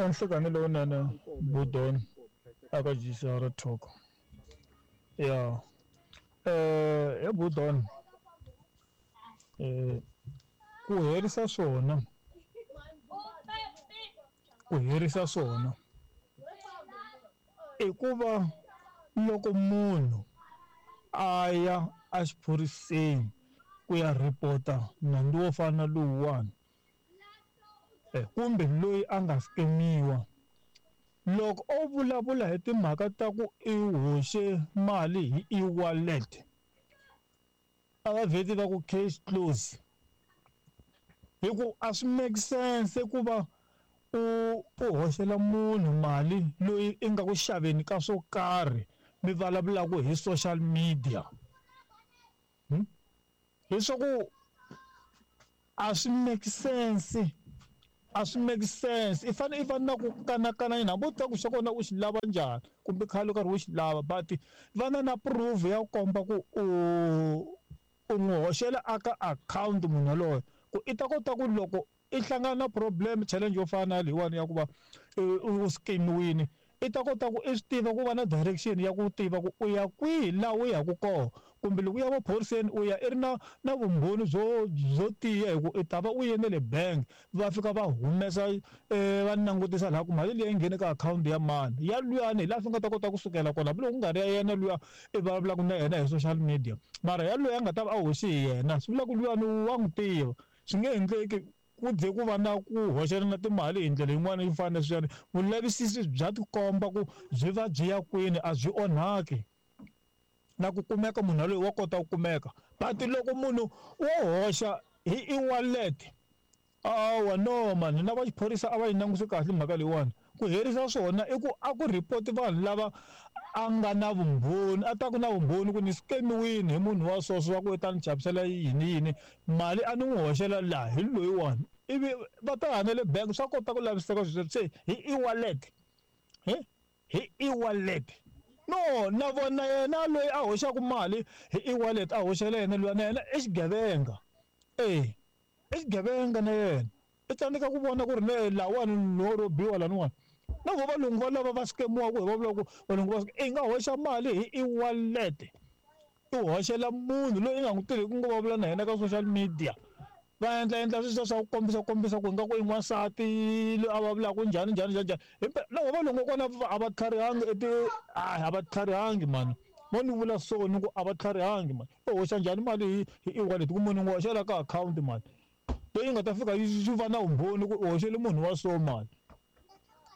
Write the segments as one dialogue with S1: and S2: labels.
S1: Nhlikani lowunene Budon aka GCR Talk ya he Budon ku herisa swona ku herisa swona i ku va loko munhu a ya exiphoriseni ku ya report-a nandzu wo fana na lowuwani kumbe loyi a nga scam-iwa loko o vulavula hi timhaka ta ku i hoxe mali hi e-wallet a va vheti va ku case close hi ku a swi make sense ku va u hoxela munhu mali loyi i nga ku xaveni ka swo karhi mi vulavulaka hi social media leswaku a swi make sense a swi make sense i fanele i va na ku kanakana yini hambi u tiva ku xa kona u xi lava njhani kumbe khale u karhi u xi lava but va na na proof ya ku komba ku u n'wi hoxela aka akhawunti munhu yaloye ku i ta kota ku loko i hlangana na problem challenge yo fana na leyiwani ya ku va u scam-iwini i ta kota ku i swi tiva ku va na direction ya ku tiva ku u ya kwihi laha u yaka kona kumbe loko u ya maphoriseni u ya i ri na na vumbhoni byo byo tiya hi ku i ta va u ye na le bank va fika va humesa va langutisa laha ku mali liya yi nghene ka akhawunti ya mani ya luyani hi laha swi nga ta kota kusukela kona hambiloko ku nga ri ya yena luya i vulavulaka na yena hi social media mara ya luya a nga ta va a hoxi hi yena swi vula ku luyani wa n'wi tiva swi nge endleki ku ze ku va na ku hoxelana timali hi ndlela yin'wana yo fana na leswiyani vulavisisi bya tikomba ku byi va byi ya kwini a byi onhaki na ku kumeka munhu yaloye wa kota ku kumeka but loko munhu wo hoxa hi e-wallet awa no mani na va xiphorisa a va yi langutisi kahle mhaka leyiwani ku herisa swona i ku a ku report vanhu lava a nga na vumbhoni a ta ku na vumbhoni ku ni scam-iwini hi munhu wa so so wa ku i ta ni chavisela yini yini mali a ni n'wi hoxela laha hi loyiwani ivi va ta ya na le bank swa kota ku laviseka swilo se hi e-wallet hi e-wallet no na vona yena loyi a hoxaka mali hi e-wallet a hoxela yena luya na yena i xigevenga e i xigevenga na yena i tsandzeka ku vona ku ri ne lawani no robiwa laniwani na vo valungu va lava va scam-iwaka hi va vulaka ku valungu va i nga hoxa mali hi e-wallet i hoxela munhu loyi i nga n'wi tiveki ku nga vulavula na yena ka social media va endla endla sweswiya swa ku kombisa kombisa ku ingaku i n'wansati loyi a vulavulaka njhani njhani njhani njhani himpela na vo valungu kona a va tlharihangi a va tlharihangi mani mo ni vula so ni ku a va tlharihangi mani u hoxa njhani mali hi e-wallet ku munhu n'wi hoxela ka akhawunti mali leyi nga ta fika yi va na vumbhoni ku u hoxele munhu wa so mali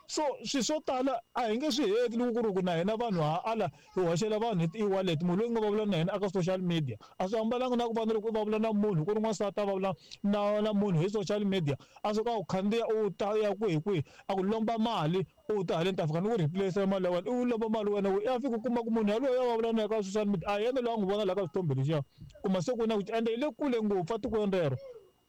S1: so swilo swo tala a hi nge swi heti loko ku ri ku na hina vanhu ha ala hi hoxela vanhu hi ti-e-wallet munhu loyi nga vulavula na yena aka social media a swi hambananga na ku va na loko u vulavula na munhu ku ri n'wansati a vulavula na munhu hi social media a suka a ku khandziya u ta ya kwihi kwihi a ku lomba mali u ta haleni ta fika ni ku replace mali ya wena u lomba mali wena u ya fika u kuma ku munhu yaloye a vulavula na yena ka social media a yena loyi a n'wi vona laha ka swithombe lexiya kuma se ku na ku ende yi le kule ngopfu etikweni rero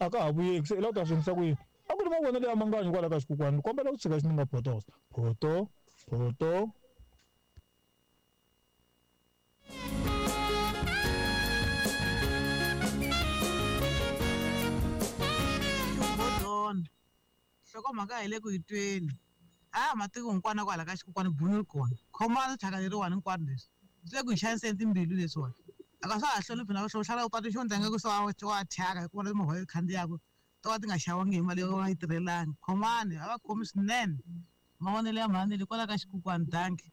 S1: a ka ha vuyeki se i lava ku ta swi endlisa ku yini a ku ri mavonelo ya manganyi kwala ka xikukwana ni kombela ku tshika xi nga photosa photo photo.
S2: Bodona nhlokomhaka hi le ku yi tweni a matiko hinkwana kwala ka xikukwana bunu ri kona khomani thyaka leriwani hinkwaro leswi swi le ku hi xaniseni timbilu leswiwani a ka swa ha hloniphi na ku hlala u patu xo ndza nga ku se wa thyaka hikuva na timovha yi khandziyaka to ka ti nga xavangi hi mali yo va yi tirhelangi khomani a va khomi swinene mavonelo ya mhani le kwala ka xikukwana danki.